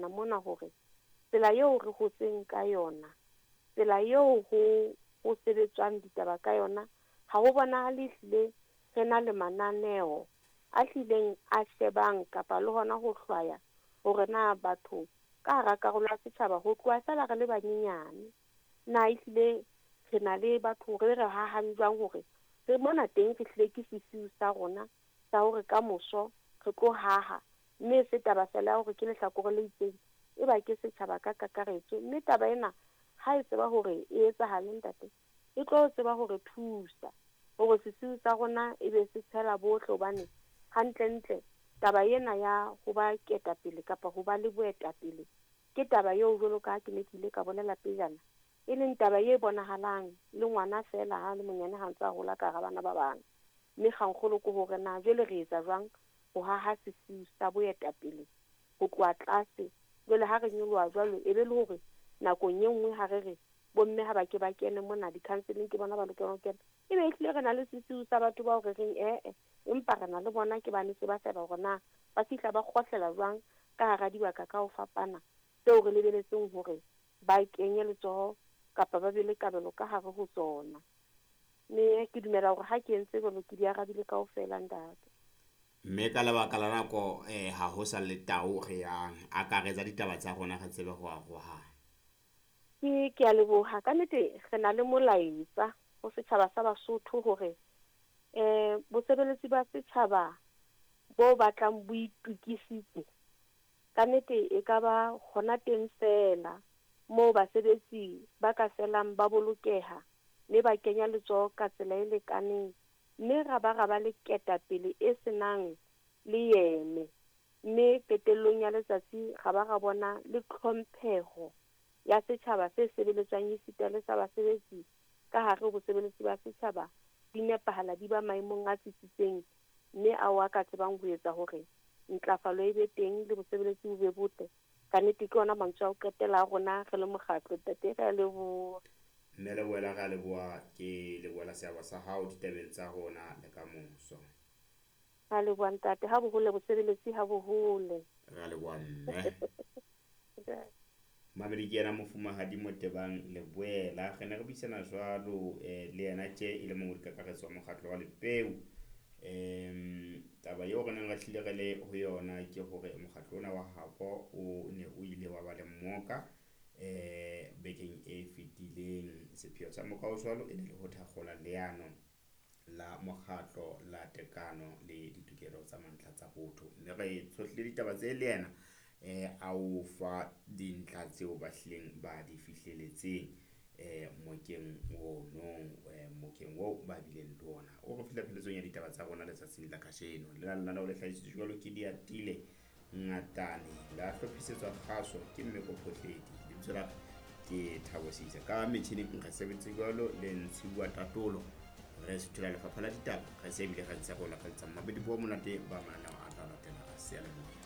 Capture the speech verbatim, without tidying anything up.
dumellana mona hore tsela eo re hotseng ka yona, tsela eo ho ho sebetswang ditaba ka yona, ha ho bonahale ehlile re na le mananeo a hlileng a shebang kapa le hona ho hlwaya hore na batho ka hara karolo ya setjhaba ho tloha feela re le banyenyane, na ehlile re na le batho re re hahang jwang hore re mona teng re hlile ke sesiu sa rona sa hore kamoso re tlo haha, mme se taba feela ya hore ke lehlakore le itseng, e ba ke setjhaba ka kakaretso. Mme taba ena ha e tseba hore e etsahale ntate, e tlo tseba hore thusa hore sesiu sa rona e be se tshela bohle, hobane hantlentle taba ena ya ho ba ketapele kapa ho ba le boetapele ke taba eo jwalo ka ha ke ne ke ile ka bolela pejana, e leng taba e bonahalang le ngwana feela ha le monyane ha ntse a hola ka hara bana ba bang. Mme kgangkgolo ke hore na jwale re etsa jwang ho haha sesiu sa boetapele ho tloha tlase. Jwale ha re nyoloha jwalo, e be le hore nakong e nngwe ha re re bomme ha ba ke ba kene mona di-counseling, ke bona ba lokelang ho kena, e be ehlile re na le sesiu sa batho bao re reng ee, empa re na le bona ke ba ne se ba sheba hore na ba fihla ba kgohlela jwang ka hara dibaka ka ho fapana tseo re lebeletseng hore ba kenye letsoho kapa ba be le kabelo ka hare ho tsona. Mme ke dumela hore ha ke entse jwalo ke di arabile kaofela ntate. Mme ka lebaka la nako eh ha ho sa le tao re yang akaretsa ditaba tsa rona re tsebe ho arohana. Ke ke a leboha. Ka nnete re na le molaetsa ho setjhaba sa Basotho hore eh bosebeletsi ba setjhaba bo batlang bo itokisitse, ka nnete e ka ba hona teng feela moo basebetsi ba ka felang ba bolokeha mme ba kenya letsoho ka tsela e lekaneng, mme ra ba ra ba le ketapele e senang le yeme, mme qetellong ya letsatsi ra ba ra bona le tlhompheho ya setjhaba se sebeletswang esita le sa basebetsi ka hare ho bosebeletsi ba setjhaba di nepahala, di ba maemong a tsitsitseng, mme ao a ka tsebang ho etsa hore ntlafalo e be teng le bosebeletsi bo be botle. Ka nnete ke ona mantswe a ho qetela a rona re le mokgatlo. Ntate, re a leboha. Mme Leboela, re a leboha. Ke lebohela seabo sa hao ditabeng tsa rona le ka moso. Ra leboha ntate, ha bohole bosebeletsi ha bohole. Re a leboha mme. Mamedi ke yena mofumahadi Motebang Leboela. Re ne re buisana jwalo eh, le yena tje e le mongodi kakaretso wa mokgatlo wa Lepeu. Em taba eo re neng re hlile re le ho yona ke hore mokgatlo ona wa habo o ne o ile wa ba le mmoka eh bekeng e fetileng. Sepheo sa moka o jwalo e ne le ho thakgola leano la mokgatlo la tekano le ditokelo tsa mantlha tsa botho. Mme re tshohlile ditaba tse le yena eh a o fa dintlha tseo ba hlileng ba di fihleletseng eh mokeng ono eh mokeng oo ba bileng le ona. O re fihla pheletsong ya ditaba tsa rona letsatsing la kajeno. Le la lenaneo le hlahisitswe jwalo ke Diatile Ngatane, la hlophisetswa kgaso ke Mmeko Phohledi. Lebitso la ka ke Thabo Seisa. Ka metjhining re sebeditse jwalo le Ntshiwa Tatolo. Re suthola lefapha la ditaba, re se ebile re ntse re o lakaletsa mabedi bo monate ba mananeo a tla latela seyalemoya.